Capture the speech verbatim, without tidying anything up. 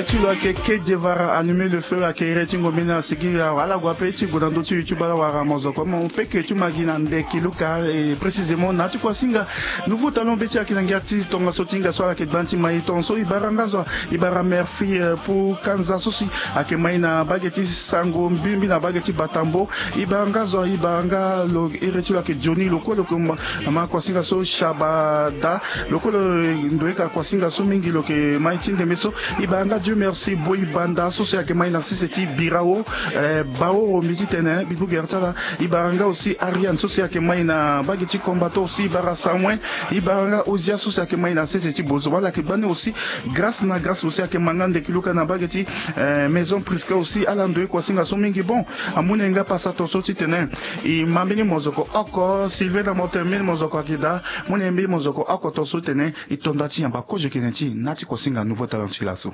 Ti lo ayeke Kedjevara, allumer le feu, ayeke iri ti ngombe ni asigi awa ala gue ape ti gue na ndö ti YouTube ala wara mozoko mo peke ti ma gi na ndeki luka. Et précisément na ti kuasinga Nouveau Talon be ti ayeke na ngia ti tongaso ti hinga so ala yeke gba ti mai tongaso. E bara nga zo, e bara Murphy, euh, pour Kanza so si ayeke mai na bage ti Sango Mbimbi na bage ti Batambo. E bara nga zo, e bara nga lo iri ti lo ayeke Johnny lo kue lo yeke ma kuasinga so Shabada. Lo kue lo ndoye ka kuasinga so mingi lo yeke mai ti ndembe so. E bara nga Dieu merci Boy Banda so si ayeke mai na sese ti Birao, eh, Baoro mbi ti tene mbi bugere ti ala. E bara nga aussi Ariane so si ayeke mai na bage ti Combato aussi. E bara Samuel. E bara nga Ozia so si ayeke mai na sese ti Bozo wala ayeke gba ni aussi. Grâce na Grâce aussi ayeke ma nga ndeki luka na bage ti, eh, Maison Prisca aussi. Ala ndoye kuasinga so mingi. Bon, amu na e nga pasa tongaso ti tene e ma mbeni mozoko oko. Sylvain na moto mbeni mozoko ayeke daa. Mu na e mbeni mozoko oko tongaso ti tene e to nda ti yamba kozo yeke na e ti na ti kuasinga Nouveau Talon ti laso.